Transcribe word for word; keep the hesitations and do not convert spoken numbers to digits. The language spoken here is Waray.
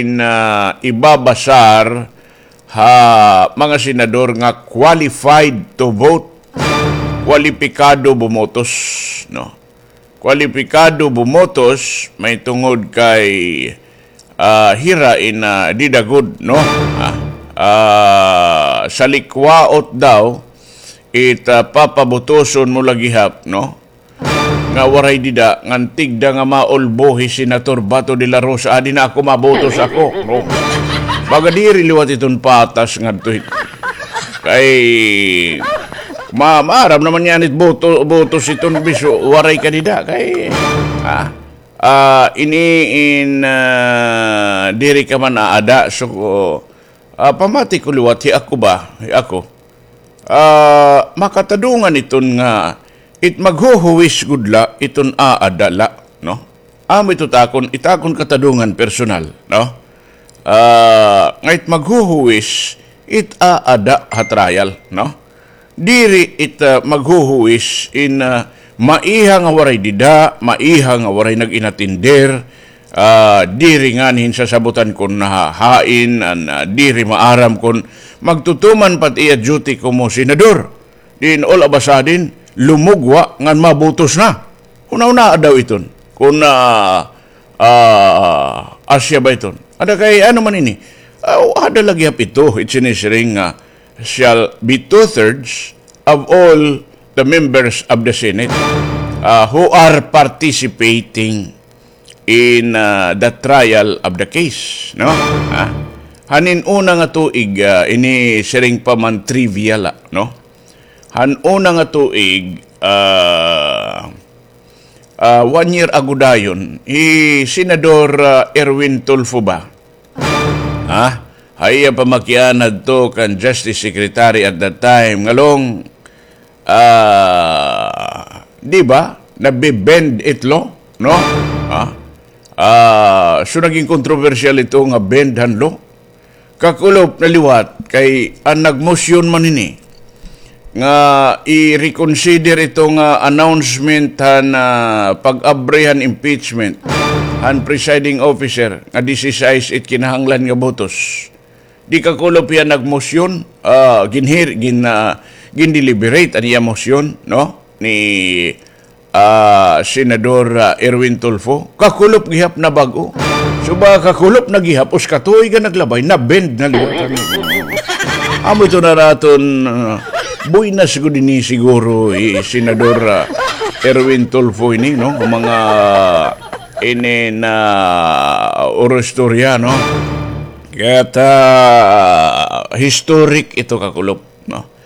in, ah, ibabasar ha mga senador nga qualified to vote. Kwalipikado bumotos, no? Kwalipikado bumotos, mahitungod kay, ah, hira in, ah, dida gud, no? Ah, ah, salikwaot daw, it, ah, papabutoson mo la gihap, no? Nga waray dida, ngan tigda nga maulbo hi Senator Bato de la Rosa, adi na ako mabutos ako, no? Baga diri liwat iton patas ngadto hit-, kay ma-, maaram naman niyan it boto-, botos iton biso, waray ka dida, kay, ah, ah, ini in, ah, diri ka man aada, so, ah, pamati ko liwat, hi ako ba, hi ako. Ah, makatadungan iton nga it maghuhuwis gud la iton aada la, no? Amo ito takon, it akon katadungan personal, no? Ah, nga it maghuhuwis it aada ha trial, no? Diri it, ah, maghuhuwis in, ah, maiha nga waray dida, maiha nga waray nag-inatender, ah, diri nganhi hin sasabutan kon nahahain, an, ah, diri maaram kon magtutuman pa it iya duty komo senador. Diin all of a sudden, lumugwa ngan mabutos na. Hunahunaa daw iton. Kon, ah, ah, asya ba iton? Ada kay ano man ini? Ah, ada la gihap ito, it sinisiring nga shall be two-thirds of all the members of the Senate, ah, who are participating in, ah, the trial of the case, no? Ah, hain una nga tuig, ah, ini siring pa man trivia la, no? Han una nga tuig, ah, ah, one year ago dayon, hi Senador, ah, Erwin Tulfo ba? Ha? Ha iya pamakiana adto kan Justice Secretary at that time, ngalong, ah, di ba? Nabe-bend it law, no? Ha? Ah, so naging kontrobersyal ito nga bend han law. Kakulop na liwat kay an nagmosyon man ini nga i-reconsider ito nga announcement han, ah, pag-abri han impeachment han presiding officer nga dise-sais it kinahanglan nga botos. Di kakulop hiya nagmosyon, ah, ginhir-, gin-, ah, gindeliberate an iya mosyon, no? Ni ah, Senador, ah, Erwin Tulfo, kakulop gihap na bag-o. So, ba kakulop na gihap, usa ka tuig an naglabay, na-bend na liwat. Amo ito na naton, ah, buenas gud ini siguro, eh, Senador, ah, Erwin Tulfo ini, no? Mga ini na orostorya, no? Kaya ta, ah, historic ito, kakulop, no?